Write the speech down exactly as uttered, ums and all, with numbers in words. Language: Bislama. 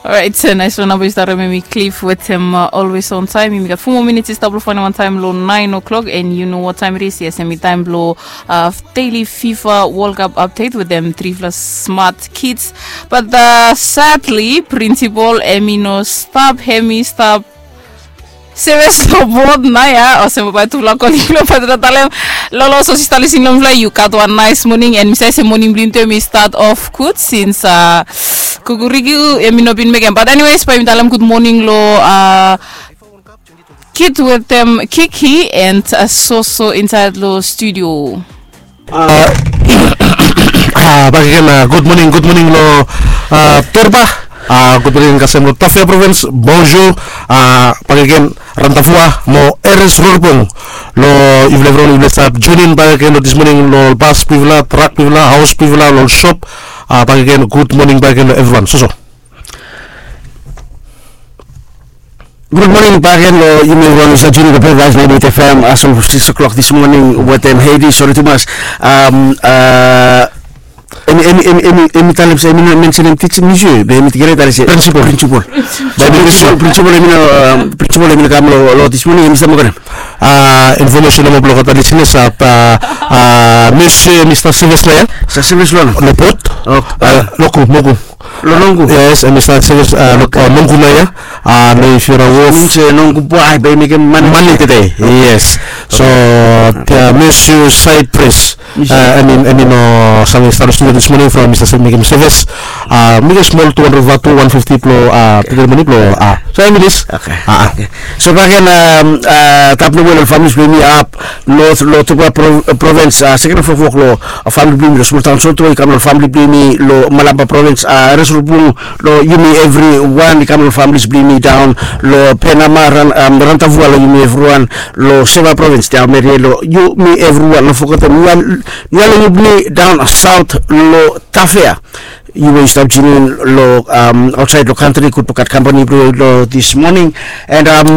Alright, so nais wan namba yu stap remember mi Cliff wetem uh, always on time. Yumi gat four more minutes i stap lo fain wan time lo nine o'clock and you know what time it is. Yes, hemi time lo uh, daily FIFA World Cup update with them three plus smart kids. But uh, sadly, principal hemi no stap, hemi stap Seves lo bot nao ya olsem bae tufala kolik lo bae tufala talem. Lolo, so sista, lisin lo mifala, yu gat wan nais moning, and mi save se moning blong yu tu hemi start off gud since uh, kukuriki hemi no bin mekem. But anyways, bae mi talem gud moning lo uh, kid wetem Kiki and uh, Soso insaed lo studio. Uh, uh, bakegen, uh, gud moning, gud moning lo uh, Torba. Uh, gud moning kasem lo Tafea Provins, bonjour. Uh, bakegen Rantafua mo Eres Rorpong. Lo yufala evriwan yufala stap join in bakegen lo this morning lo bas blong yufala, trak blong yufala, haos blong yufala, lo sop. Uh, bakegen gud moning bakegen lo evriwan. Soso. Gud moning bakegen lo yumi evriwan yu stap join in lo Paradise ninety-eight F M, uh, from six o'clock this morning wetem Hedi, sori tumas. Um, uh, hemi, hemi, hemi, hemi, hemi talem se hemi no mensenem teaching, mi sure be hemi kere talem se principal. Principal. Principal, principal hemi no, um, principal hemi no kam lo, lo this morning, hemi stap moa karem. Uh, information nomo blong olgeta listeners, uh, uh, Monsieur Mister Seves nao ya. Mister Seves lo? Lo bot. Oh, uh, Loku, Moku. Lo Nongu. Yes, and Mister Seves, uh, lo, uh, Nongu nao ya. Uh, lo if you're a wolf. Means uh, Nongu boy, bae mekem mane. Mane tede. Yes. So, uh, Monsieur Cyprus. Uh, I mean, I mean, uh, same start studio this morning from Mister Seves, mekem Seves. Uh, mekem smol two hundred vatu, one fifty blo, uh, bigger money blo, uh, so I mean this. Okay. Uh, uh. Okay. So bakegen, um, uh, tap nomo lo families blong yumi ap north lo Tokwa pro, uh, province, uh, seken fofok lo uh, famili blong yumi lo smol taon Soto, i kam lo famili blong yumi lo Malaba province, uh, Eres Rorpong, lo yumi evriwan, i kam lo families blong yumi daon lo Penama, Ran, um, Rantafua, lo yumi evriwan lo Seva province, Daomeria, lo yumi evriwan, no fogetem Nualeni blong yumi daon south lo Tafea. Yu we yu stap join in lo, um, outside lo country, gud blong gat company blong yu lo this morning. And um,